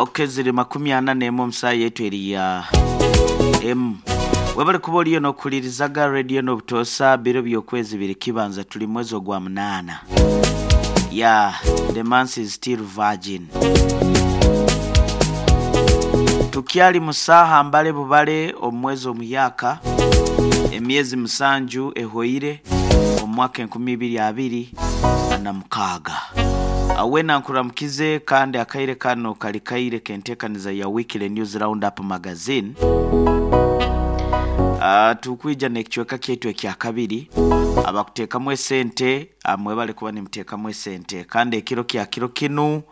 Ok, ziri 41 omu saaha yaitu eri ya emu. Webale kuba oriyo n'okuhulirizaga rediyo n'obutoosa. Biro by'okwezi biri kibanza, tuli mwezi ogwa munaana. Yeah, the month is still virgin. Tukyali mu saaha mbale bubale omu mwezi omuhyaka, emyezi 7 ehoire omu mwaka 2026. Weena nkuramukize kandi akaire kano kali kaire k'enteekaniza ya Weekly News Roundup Magazine. Tukwija n'ekicweka kyaitu ekyakabiri. Abakuteekamu esente mwebale kuba nimuteekamu esente, kandi ekiro kya kiro kinu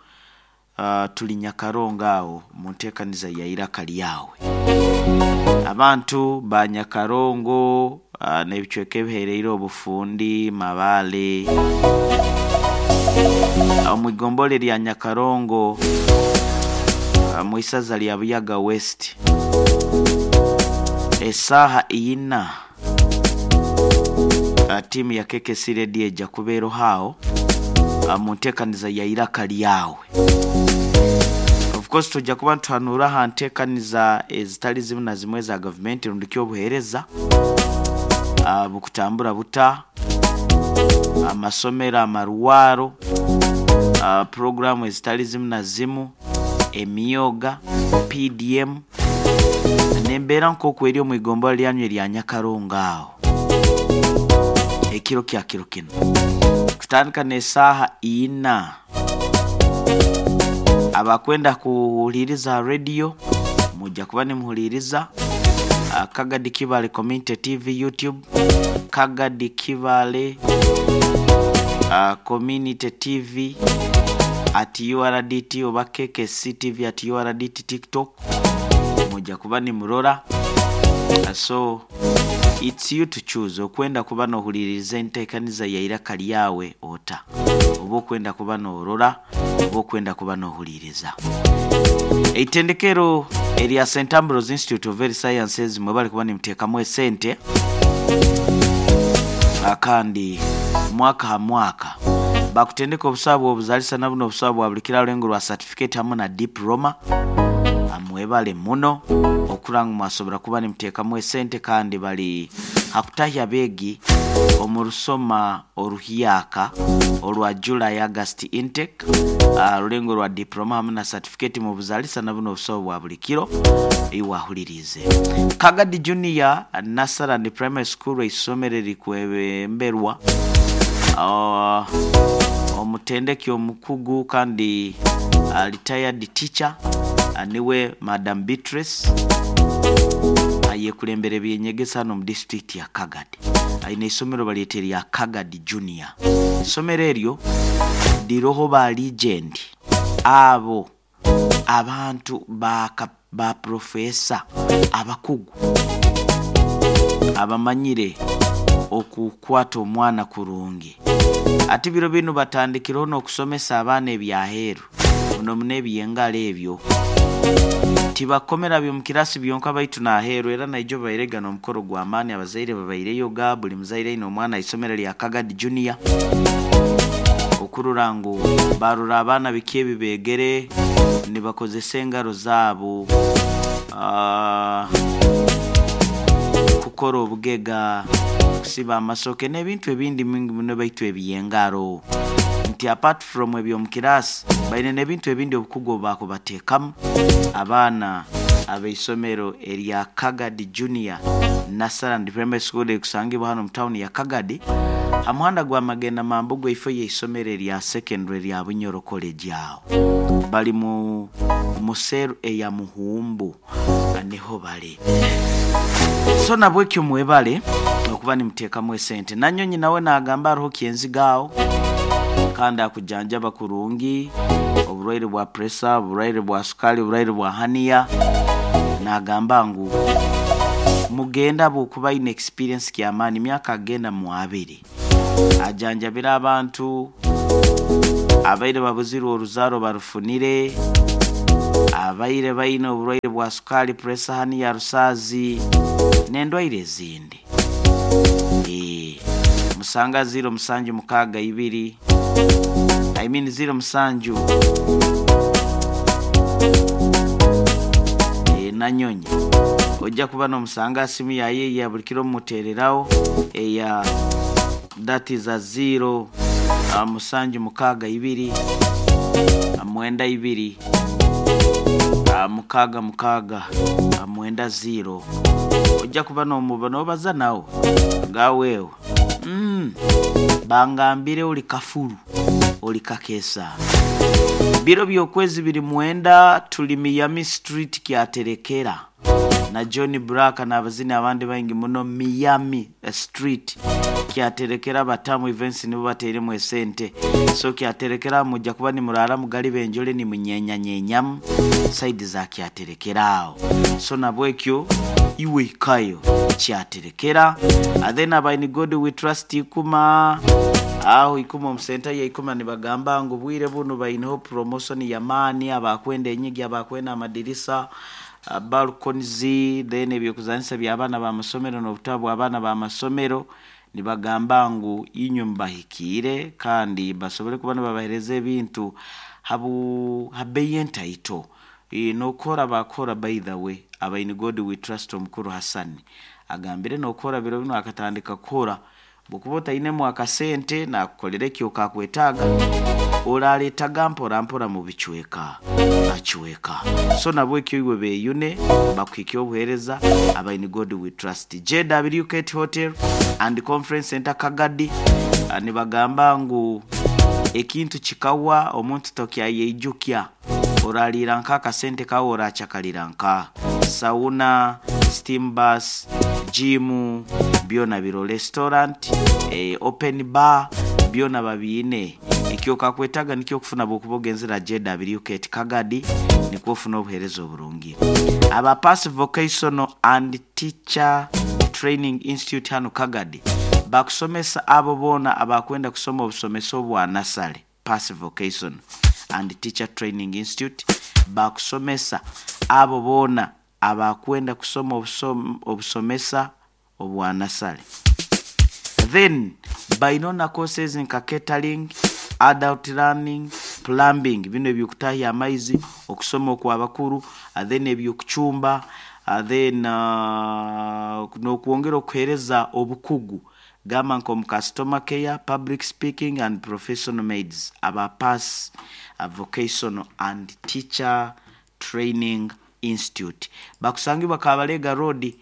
tuli Nyakarongo aho mu nteekaniza ya Iraka Lyawe. Abantu ba Nyakarongo n'ebicweka ebihereire Obufundi, Mabaale, omu igombolola erya Nyakarongo mu isaza lya Buyaga West, esaaha ina tiimu ya KKC Radio eja kuba eroho agho mu nteekaniza ya Iraka Lyawe. Of course twija kuba nituhanuura aha nteekaniza ezitali zimu na zimwe eza gavumenti rundi ki obuheereza bukutambura buta, amasomero, amarwaro, puroguraamu ezitali zimu na zimu, emyoga, PDM n'embeera nk'oku eri omu igombolola lyanyu erya Nyakarongo agho ekiro kya kiro kinu. Kutandika n'esaaha ina. Abakwenda kuhuliiriza ha rediyo mwija kuba nimuhuliiriza Kagadi Kibaale Community TV YouTube, Kagadi Kibaale Community TV at URDT oba KKC TV at URDT TikTok, mwija kuba nimurora. So it's you to choose okwenda kuba n'ohuliiriza enteekaniza ya Iraka Lyawe ota, oba okwenda kuba n'orora oba okwenda kuba n'ohuliiriza. Eitendekero erya St Ambrose Institute of Health Sciences mwebale kuba nimuteekamu esente kandi mwaka ha mwaka bakutendeka obusawo bw'obuzaalisa na buno obusawo bwa buli kiro arulengo rwa certificate hamu na diploma. Mwebale muno okurora ngu mwasobora kuba nimuteekamu esente kandi bali ha kutahya abeegi omu rusoma oruhyaka orwa July August intake, rulengo rwa diploma hamu na certificate mu buzaalisa na buno obusawo bwa buli kiro. Iwe ahuliriize. Kagadi Junior Nursery and Primary School eisomero eririkwebemberwa omutendeki omukugu kandi retired teacher niwe Madam Beatrice, ayekulembera eby'enyegesa hano omu disiturikiti ya Kagadi. Aine eisomero balyeta erya Kagadi Junior. Eisomero eryo liroho ba legend abo abantu ba purofeesa abakugu abamanyire okukwata omwana kurungi. Ati biro binu batandikireho n'okusomesa abaana ebyaheeru muno muno eby'engaro ebyo. Tibakomera by'omu kirasi byonka baitu n'aheeru, era naijo babairega n'omukoro gw'amaani, abazaire babaireyoga, buli muzaire aine omwana aha isomero lya Kagadi Junior okurora ngu barora abaana biki ebi beegere nibakozesa engaro zaabo, kukora obugega, kusiba amasoke n'ebintu ebindi mingi muno baitu eby'engaro. Nti apart from eby'omu kirasi, baine n'ebintu ebindi obukugu obu bakubateekamu. Abaana ab'eisomero erya Kagadi Junior Nursery and Primary School erikusangibwa hanu omu tawuni ya Kagadi aha muhanda gwa Magenda Mambugu eifo y'eisomero erya secondary erya Bunyoro College aho bali mu museru eya Muhumbu niho bali. So nabwekyo mwebale okuba nimuteekamu esente. Nanyonyi nawe nagamba hariho kyenziga aho kandi akujanjaba kurungi oburwaire bwa pressure, oburwaire bwa sukali, oburwaire bwa haniya. Nagamba ngu mugende ahabw'okuba aine experience ky'amaani, myaka agenda mu abiri ajanjabire abantu abaire babuzirwe oruzaaro barufunire, abaire baine oburwaire bwa sukali, pressure, haniya, rusaazi n'endwaire ezindi. Musanga 076 2, I mean 07. Nanyonyi ojja kuba n'omusanga simu yaye eya buli kiro mumuteereraho eya that is a 0 762 92 66 90 ojja kuba n'omuba n'obaza nawe ngaweewe bangambire oli kafulu oli kakesa biro by'okwezi biri mwenda tuli Miami Street kyaterekera na John Black n'abazini abandi baingi muno Miami Street kyaterekera batamu events nibo bateeremu esente so kyaterekera mujja kuba nimurara mugali benjole nimunyenyanyenyamu saidi za kyaterekera aho so nabwekyo iwe ikayo kyaterekera. And then abaini God we trust ikuma aho ikuma omusenta ya ikuma nibagamba ngu bwire buno baineho promotion yamaani abakwenda enyigi abakwenda amadirisa balconies then ebyokuzanisa by'abaana b'amasomero n'obutabu bw'abaana b'amasomero nibagamba ngu inywe mubahikiire kandi basobole kuba nibabahereza ebintu habu habeyi entaito. Nokora bakora by the way abaini God we trust omukuru Hassan agambire nokora biro bino akatandika kukora bwokuba otainemu akasente nakukolera ekyokakwetaaga oraletaga mpora mpora mu bicweka acweka so nabwekyo iwe beyune bakuhikya obuhereza abaini God we trust. JW Kate Hotel and Conference Center Kagadi nibagamba ngu ekintu kikawa omuntu tokyayeijukya oralira nka akasente kawe orachakalira nka sauna, steam bus, gym byona biro restaurant, open bar byona babiine ekyo kakwetaga nikyo okufuna bwokuba ogenzera JW Kate Kagadi nikwo ofuna obuhereza oburungi. Aba Pass Vocational and Teacher Training Institute hano Kagadi bakusomesa abo boona abakwenda kusoma obusomesa obwa nasale. Pass Vocational and Teacher Training Institute bakusomesa abo boona abakwenda kusoma obusomesa obwa nasale. Then bainona courses nka catering, adult learning, plumbing bino ebyokutahya amaizi, okusoma okw'abakuru, then ebyokucumba, then n'okwongera okuhereza obukugu gamba nka omu customer care, public speaking and professional maids aba Pass Vocational and Teacher Training Institute bakusangibwa Kabalega Road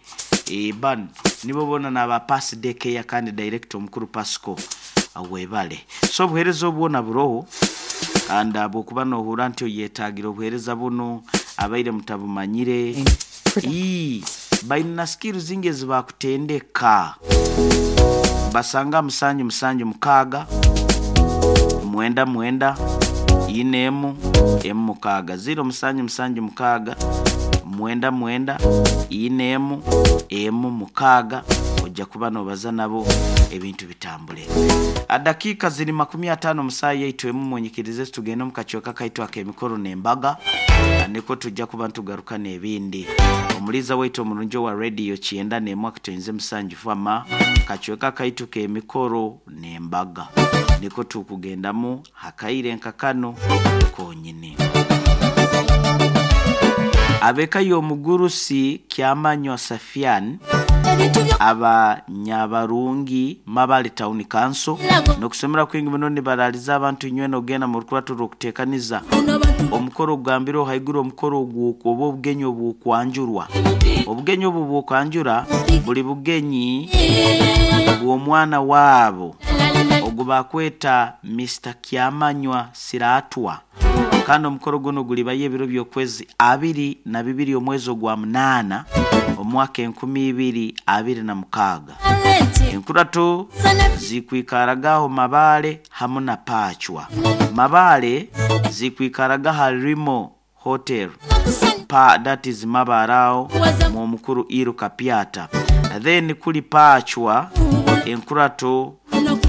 ban nibo bona naba Pass Daycare kandi director omukuru Pasco webale. So obuhereza obwona buroho and bwokuba nohura nti oyetagira obuhereza buno abaire mutabumanyire baina skills zingi ezibakutendeka basanga 7 7 6 9 9 4 M 6 0 7 7 6 9 9 4 M 6 ojja kuba nobaza nabo ebintu bitambule. Adakika ziri 50 musayi yaitu emu munyikirize tugende mu kachoka kaitu ak'emikoro n'embaga niko tujja kuba ntugaruka n'ebindi. Omuliza waitu omurungi wa radio kyenda n'emu akutenze musanju fama kachoka kaitu k'emikoro n'embaga niko tukugendamu hakaire nkakano konyine. Abeka y'omugurusi Kyamanywa Safian aba Nyabarungi Mabale Town Council nokusomera kwingi muno nibaraliza abantu inywe nogenda mu rukuratu rw'okuteekaniza omukoro ogugambire haiguru omukoro ogwo oba obugenyi obw'okwanjurwa. Obugenyi obwo bw'okwanjura buli bugenyi bw'omwana waabo ogu bakweta Mr. Kyamanywa Siratwa kandi omukoro guno gulibayo ebiro by'okwezi 22 omwezi ogwa 8 omwaka 2026. Enkurato zikwikaragaho Mabale hamu na Pachwa. Mabale zikwikaragaho Harimo Hotel pa that is Mabarao mu mukuru Iru Kapiata. Then kuli Pachwa enkurato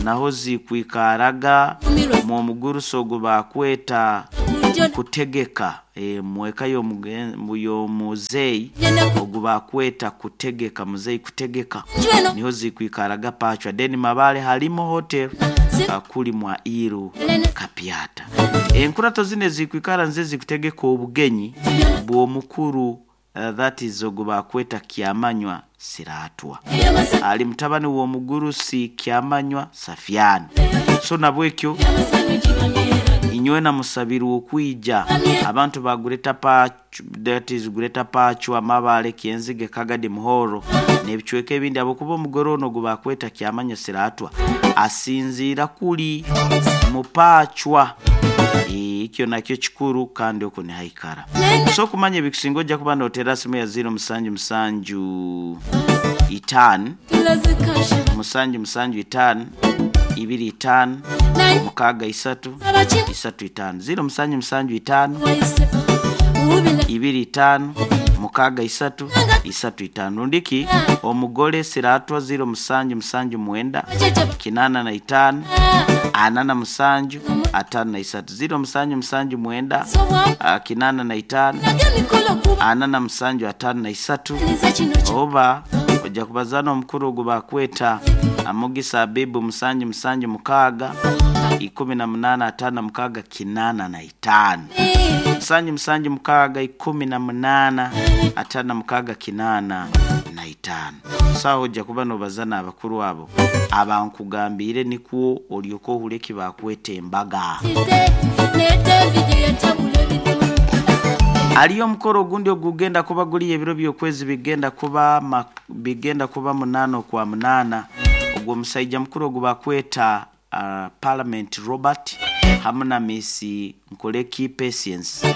naho zikwikaraga mu muguruso ogu bakweta kutegeka mweka y'omuzeyi ogu bakweta kutegeka muzeyi kutegeka niho zikwikaraga Pachwa. Then Mabale Harimo Hotel kuli mwa Iru Kapiata. Enkurato zine zikwikara nze zikutegeka obugenyi bw'omukuru That is ogu bakweta Kyamanywa Siratwa, ali mutabani w'omugurusi Kyamanywa Safiani. So nabwekyo inywena musabirwe okwija abantu ba Greater Patch, that is Greater Pachwa, Mabale, Kyenzige, Kagadi, Muhoro n'ebicweka ebindi, ahabwokuba omugore ono ogu bakweta Kyamanywa Siratwa asinziira kuli mupachwa. Ekyo nakyo kikuru kandi okwo nihaikara. So okumanya ebikusinga ojja kuba noteera simu ya 0 musanju musanju itaano musanju musanju itaano ibiri itaano mukaaga isatu isatu itaano 0 musanju musanju itaano ibiri itaano mukaaga isatu isatu itaano. Rundiki omugore Siratwa 0 musanju musanju mwenda 85 47 53 0 musanju musanju mwenda 85 47 53. Oba ojja kubazana omukuru ogu bakweta Amugisa Abibu musanju musanju mukaaga 18 56 85 musanju musanju mukaaga 18 56 85. Sawa ojja kuba nobazana abakuru abo abankugambiire, nikwo olyoka ohura eki bakweta embaga. Aliyo omukoro ogundi ogugenda kuba guri ebiro by'okwezi bigenda kuba 8 okwa 8. Ogwo omusaija mukuru ogu bakweta Parliament Robert hamu na Miss Nkoleki Patience.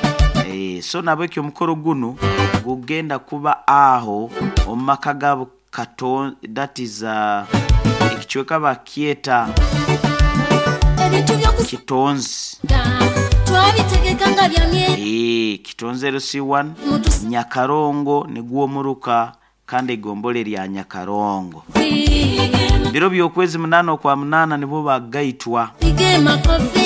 So nabwekyo omukoro gunu gugenda kuba aho omu maka gaabo Katon, that is ekicweka bakyeta Kitonzi. Kitonzi LC1 Nyakarongo nigwo muruka kandi egombole lya Nyakarongo. Biro by'okwezi 8 okwa 8 nibo bagaitwa.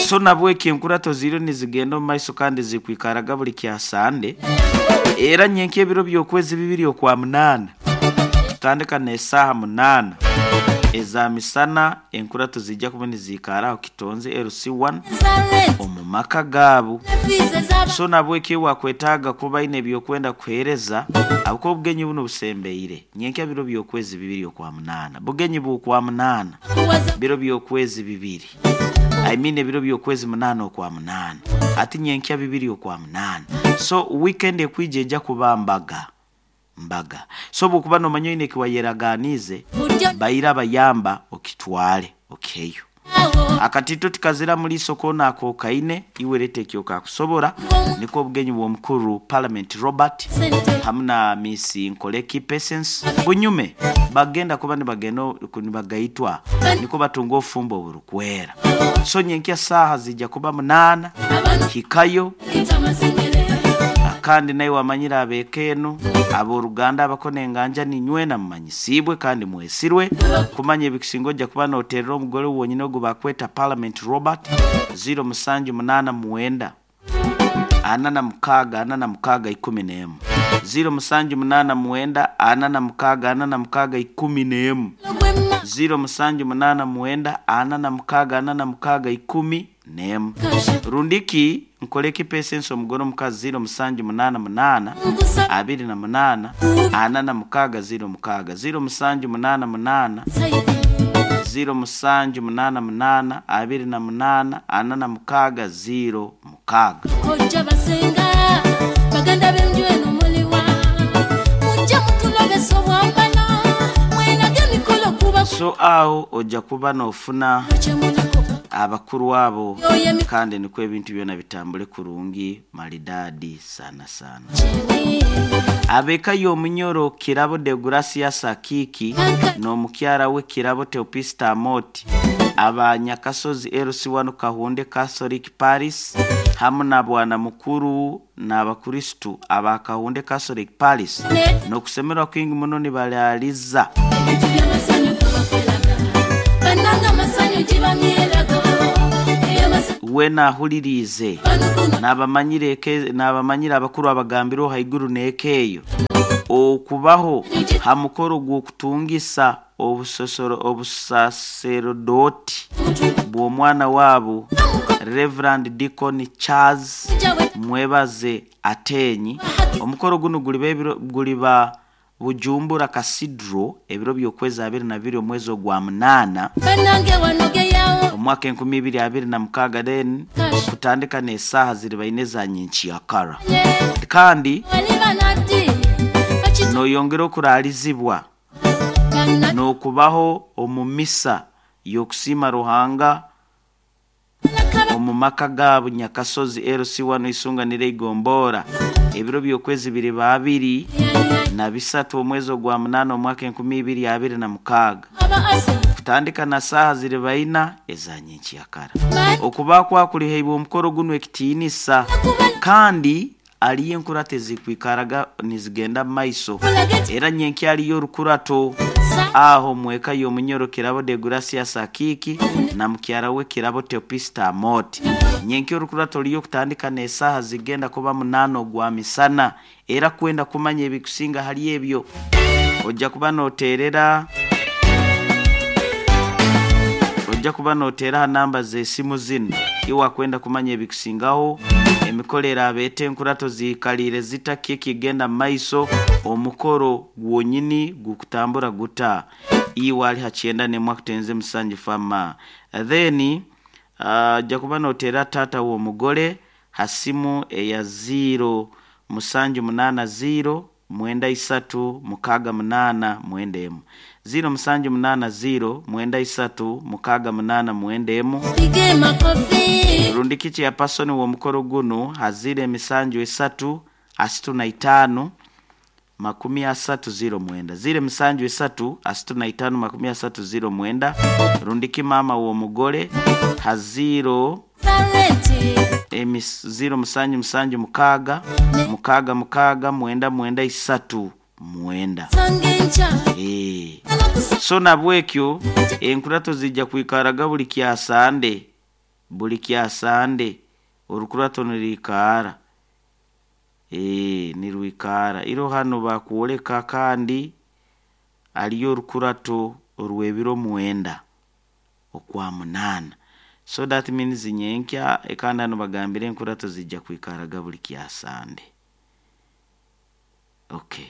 So nabwekyo enkurato ziriyo nizigenda omu maiso kandi zikwikaraga buli kya Sande. Era nyenka ebiro by'okwezi 2 okwa 8 tutandika n'esaaha 8 eza misana, enkurato zijja kuba niziikara aho Kitonzi LC1 omu maka gaabo. So nabwekyo wakwetaaga kuba aine ebyokwenda kuheereza ahabwokuba obugenyi buno busembeire. Nyenka biro by'okwezi 2 okwa 8, bugenyi bw'okwa 8 biro by'okwezi 2, I mean ebiro by'okwezi 8 okwa 8, ati nyenkya 2 okwa 8. So weekend ekwija ejja kuba mbaga mbaga. So bwokuba nomanya oine ekiwayeraganiize, baira bayamba okitwale okiheyo. Akatito tikazira muliiso koona akokaine, iwe leeta ekyokakusobora. Nikwo obugenyi bw'omukuru Parliament Robert hamu na Miss Nkoleki Patience bunyume bagenda kuba nibagenda nibagaitwa, niko batunga obufumbo oburukwera. So nyenkya saaha zijja kuba 8 hikayo, kandi nawe wamanyire abeeka enu abooruganda abakona enganja ninywena mumanyisibwe kandi mwesirwe kumanya ebikusinga. Ojja kuba noterera omugore wonyine ogu bakweta Parliament Robert 0 musanju munana mwenda 46 46 11 0 musanju munana mwenda 46 46 11 0 musanju munana mwenda 46 46 11. Rundiki Nkoleki Patience omugore omukazi 0 musanju munana munana 28 46 06 0 musanju munana munana 0 musanju munana munana 28 46 06. Kojja basenga baganda b'enju eno muliwa mujje mutulobesa obwambala mwerage emikolo kuba So aho ojja kuba nofuna kyemuliko abakuru abo yoyo kandi nikwo ebintu byona bitambule kurungi maridadi sana sana. emikyene Abeka y'omunyoro Kirabo de Gracia Sakiki n'omukyara we Kirabo Teopista Amoti abanyakasozi LC1 Kahunde Catholic Paris hamu na bwana mukuru n'abakristu aba Kahunde Catholic Paris n'okusemerwa kwingi muno nibalaliza ebintu by'amasanyu kubakweraga bannanga amasanyu gibamyeraga ebyamasanyu we nahulirize banukuno nabamanyire abakuru abagambireho haiguru n'eka eyo. Okubaho ha mukoro gw'okutungisa obusaserodoti bw'omwana waabo Reverend Deacon Charles Mwebaze Atenyi. Omukoro gunu guliba Bujumbura Cathedral ebiro by'okwezi 22 omwezi ogwa 8 omwaka 2026, then kutandika n'esaaha ziri baine za nyenkyakara. Kandi noyongera okuraalizibwa n'okubaho omu misa y'okusiima Ruhanga omu maka gaabo Nyakasozi LC1 Isunganiro Igombora ebiro by'okwezi biriba 23 omwezi ogwa 8 omwaka 2026, kutandika na saaha ziri baina eza nyenkyakara. Okuba kwakulihaibwe omukoro gunu ekitiinisa, kandi aliyo enkurato ezikwikaraga nizigenda mu maiso. Era nyenkya aliyo orukurato aho mweka y'omunyoro Kirabo de Gracias Akiiki na mukyara we Kirabo Teopista Amoti. Nyenkya orukurato liyo kutandika n'esaaha zigenda kuba 8 ogwa misana. Era kwenda kumanya ebikusinga hali ebyo, ojja kuba noteerera ojja kuba noteera ha namba z'esimu zinu iwe akwenda kumanya ebikusingaho, emikoro eraaba eta, enkurato ziikaliire zita, ki ekigenda mu maiso, omukoro gwonyini gukutambura guta. Iwe ali ha 91 akutenze musanju fama. Then ojja kuba noteera taata w'omugore ha simu eya 0 musanju munaana 0 mwenda isatu mukaaga munaana mwenda emu, 0 musanju munaana 0 mwenda isatu mukaaga munaana mwenda emu, rundi kiki ya pasoni w'omukoro gunu ha 0 emisanju esatu asatu na itaano 30 09, 0 emisanju esatu asatu na itaano 30 09, rundi ki maama w'omugore ha 0 0 musanju musanju mukaaga mukaaga mukaaga mwenda mwenda isatu mwenda. So nabwekyo enkurato zijja kwikaraga buli kyasande, buli kyasande orukurato nirwikara, nirwikara iro hanu bakwoleka. Kandi aliyo orukurato orw'ebiro 9 okwa 8, so that means nyenkya. Kandi hanu bagambire enkurato zijja kwikaraga buli kyasande. Okay,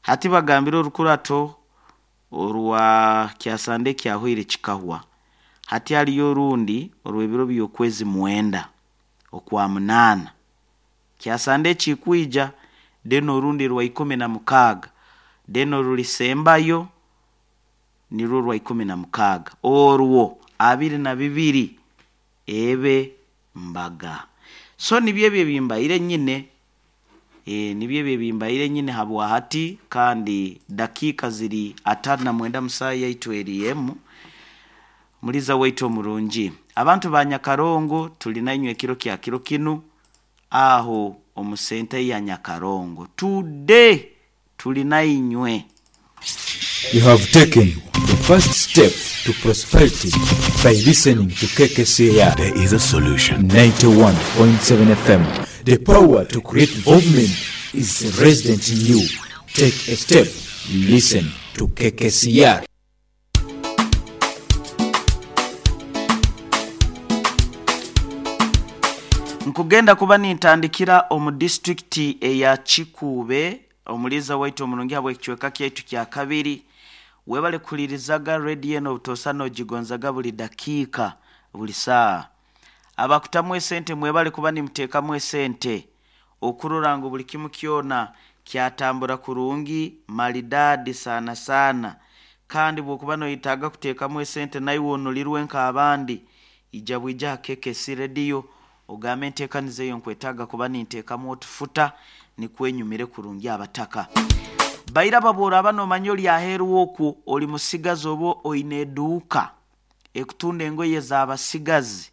hati bagambire orukurato orwa kyasande kyahwaire kikahwa, hati haliyo orundi orw'ebiro by'okwezi 9 okwa 8 kyasande ekikwija, then orundi rwa 16, then orulisembayo nirwo rwa 16 orwo 22 ebe mbaga. So nibyo ebyo ebimbaire nyine, nibyo ebyo ebimbaire nyine habwa hati. Kandi dakiika ziri 59 musaha yaitu eri emu. Muliza waitu omurungi, abantu ba Nyakarongo, tuli nainywe ekiro kya kiro kinu aho omu senta ya Nyakarongo today, tuli nainywe. You have taken the first step to prosperity by listening to KKCR. There is a solution. 91.7 FM. The power to create movement is resident in you. Take a step. Listen to KKCR. Nkugenda kuba nintandikira omu disitulikiti eya Kikuube. Omuliza waitu omurungi, habw'ekicweka kyaitu kya kabiri, webale kuhulirizaga rediyo eno obutosa nogigonzaga buli dakiika, buli saaha. Abakutamu esente, mwebale kuba nimuteekamu esente okurora ngu buli kimu kyona kyatambura kurungi maridadi sana sana. Kandi bwokuba noyetaaga kuteekamu esente naiwe onulirwe nk'abandi, ija bwija ha KKC rediyo ogambe enteekaniza eyo nkwetaaga kuba ninteekamu otufuta nikwenyumire kurungi. Abataka baira babworaba nomanya oli aheeru okwo oli musigazi oba oine eduuka ekutunda engoye z'abasigazi,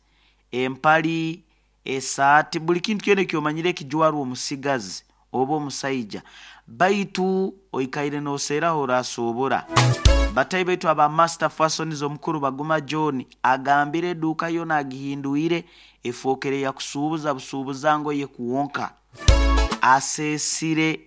empali, esaati, buli kintu kyona ekyomanyire ekijwarwa omusigazi oba omusaija, baitu oikaire noseeraho orasoobora. Batai baitu aba Master Fashions, omukuru Baguma John agambire eduuka yoona agihindwire efookere yakusuubuza busuubuza ngoye kwonka, aseesire.